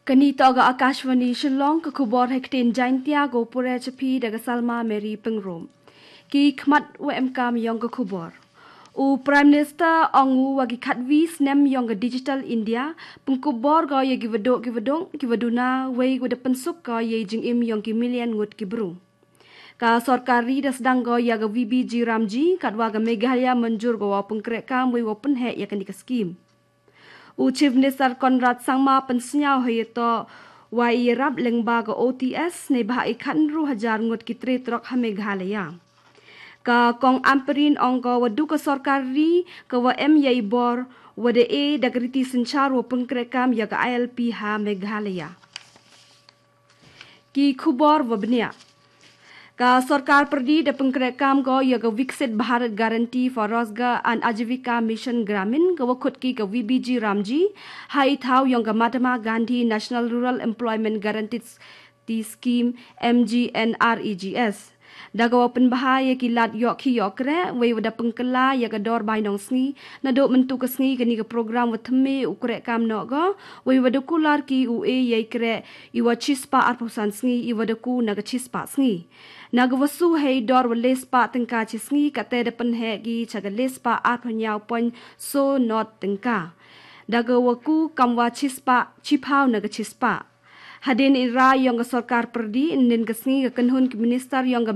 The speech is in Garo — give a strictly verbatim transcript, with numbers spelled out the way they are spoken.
Kani toga Akashvani Shillong, ka khubor hektin Jaintia go pure chapi daga Salma Mary Pengrum. Ki khmat wa emkam yong ka khubor. U Prime Minister ong u wa ki khatwi snem yong ka Digital India, pengkubor go ya ki waduk ki waduk, ki waduna, wei wada pensuk go ya jingim yong ki million ngut ki bru. Ka sorkar ri da sedang go ya ka V B G Ramji, katwa ka Meghalaya manjur go wa pengkrekam wei wa penhe ya kani ka skim. U Chief Minister Conrad Sangma pensniaw hayato wa i rap lengba ka O T S ne bah i khatnru hajar ngut ki tre trok ha Meghalaya. Ka kong Ampareen ong go wa du ka sorkar ri ka wa em ya i bor wa da e da ka riti senchar wa pengkrekam ya ka I L P ha Meghalaya. Ki khubor wa bniah. Ka sorkar perdi da pengkrekam go ya ka Viksit Bharat Guarantee for Rozgar and Ajivika Mission Gramin ka wa khut ki ka V B G Ramji, ha i thaw yong ka Mahatma Gandhi National Rural Employment Guarantee Scheme, M G N R E G S. Da ka wa penbaha ya ki lad yok ki yok re, wei wada pengkela ya ka dor bai nong sngi, na do mentu ka sngi kani ka program wa theme u krekam no go, wei wada kular ki u e ya i kre, i wa chispa arphosan sngi, i wada ku na ka chispa sngi. Na ka wasu hei dor wa lespa tengka chi sngi, kate da penhe ki cha ka lespa arphonyaw point so not tengka. Da ka wa ku kam wa chispa, chiphaw na ka chispa. Hadin i ra yong ka sorkar perdi, nin ka sngi ka kenhun ki minister yong ka